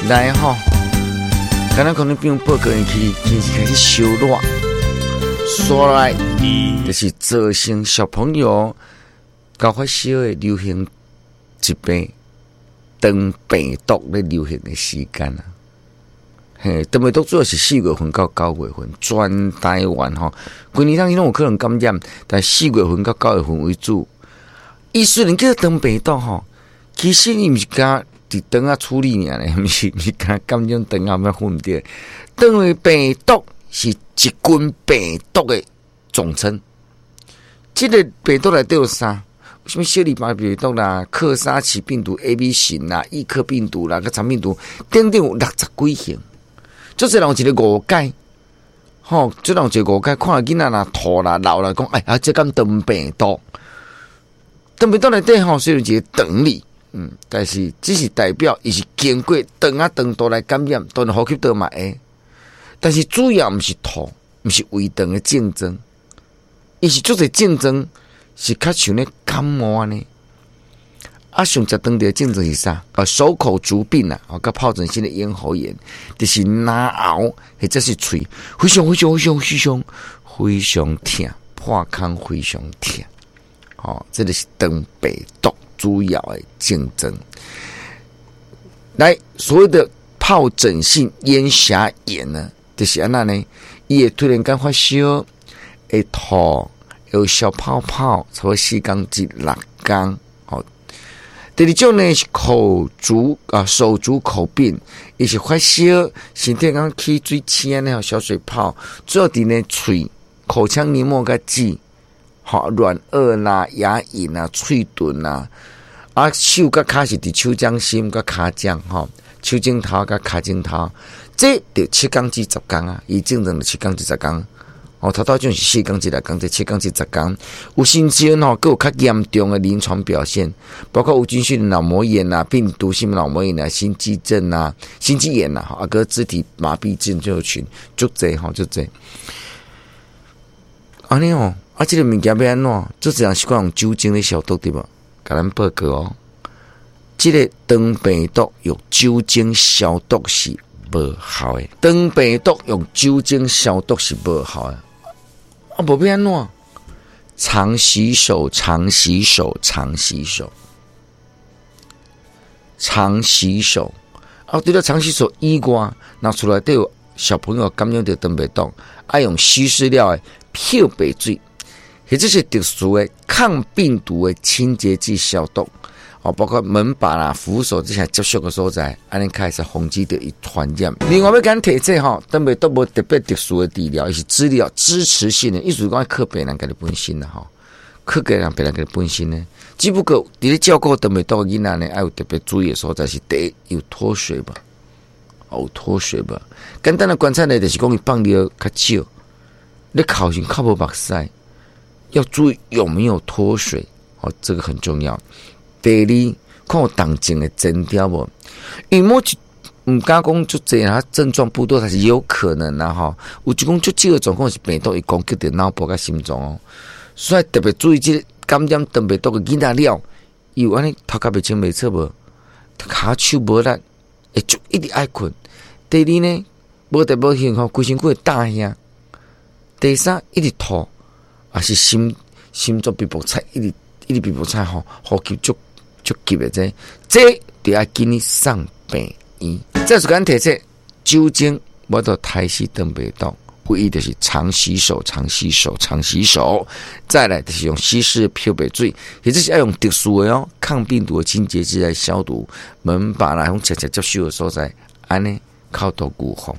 來吼，敢若可能變報告去，其實開始燒熱，煞來就是造成小朋友高發燒的流行疾病，腸病毒咧流行的時間啊。嘿，腸病毒主要是4月份到9月份，全台灣吼，規年當中攏有可能感染，但4月份到9月份為主。伊雖然叫腸病毒吼，其實伊毋是干佇腸仔處理爾呢，毋是干感染腸仔咩分毋對。腸病毒是一群病毒的總稱。這个病毒內底有啥？啥物小兒麻痹病毒啦、克沙奇病毒 A、B 型啦、易克病毒啦、佮腸病毒等等有60幾型。足濟人有一個誤解，吼，足濟人有一個誤解，看囡仔若吐啦、流啦，講哎啊，這敢腸病毒？腸病毒內底吼，雖然一個腸字，但是只是代表伊是經過腸仔腸道來感染，當然呼吸道嘛會，但是主要毋是吐，毋是胃腸的症狀，伊是足濟症狀是較像咧感冒按呢。啊，上濟當地的症狀是啥？啊，手口足病啊，啊，佮疱疹性的咽喉炎，就是嚨喉或者是喙非常非常非常非常非常疼，破空非常疼。吼，這个是腸病毒主要的症狀。來，所謂的疱疹性咽峽炎呢，就是按怎呢？伊會突然間發燒，會吐，有小泡泡，差不多4工至6工。吼，第二種呢是口足啊手足口病，伊是發燒，身體敢起水刺按呢小水泡，最後佇呢喙、口腔黏膜佮舌。吼，軟腭啦、牙齦啦、喙唇啦，啊，手佮跤是佇手掌心佮跤掌吼，手指頭佮跤指頭，這著7工至10工啊，伊症狀著七工至十工。哦，頭拄種是4工至6工，這七工至十工。有甚至吼，閣有較嚴重的臨床表現，包括無菌性腦膜炎啊、病毒性腦膜炎啊、心肌症啊、心肌炎啊，啊，閣肢體麻痹症候群，足濟吼，足濟。按呢哦，啊，這个物件欲按怎？足濟人習慣用酒精咧消毒對無？共咱報告哦，這个腸病毒用酒精消毒是無效的，腸病毒用酒精消毒是無效的。啊，無欲按怎？常洗手，常洗手，常洗手，常洗手。啊，除了常洗手以外，若厝內底有小朋友感染著腸病毒，愛用稀釋了的漂白水，或者是特殊的抗病毒的清潔劑消毒，哦，包括門把啦、扶手這些接觸的所在，按呢較會使防止著伊傳染。另外欲共咱提醒吼，腸病毒無特別特殊的治療，伊是治療支持性的，意思講靠病人家己本身啦吼，靠家人病人家己本身呢。只不過佇咧照顧腸病毒的囡仔呢，愛有特別注意的所在是第一，有脫水無？有脫水無？簡單的觀察呢，就是講伊放尿較少，你哭時較無目屎，要注意有沒有脫水，哦，這個很重要。第二，看有動靜的徵兆無？因為某一毋敢講足濟啊，症狀不多，但是有可能啦吼。有一講足少的狀況是病毒會攻擊著腦部佮心臟哦，所以特別注意這個感染腸病毒的囡仔了，伊有按呢頭殼袂清袂楚無？跤手無力，會就一直愛睏。第二呢，無特無現吼，規身軀會焦遐。第三，一直吐，也是心臟篦篦顫，一直一直篦篦顫吼，呼吸足足急的這，這就愛緊去送病院。這是共咱提醒，酒精無法度殺死腸病毒，唯一就是常洗手、常洗手、常洗手。再來就是用稀釋漂白水，或者是愛用特殊的哦抗病毒的清潔劑來消毒門把啦，用直接接觸的所在，按呢較多預防。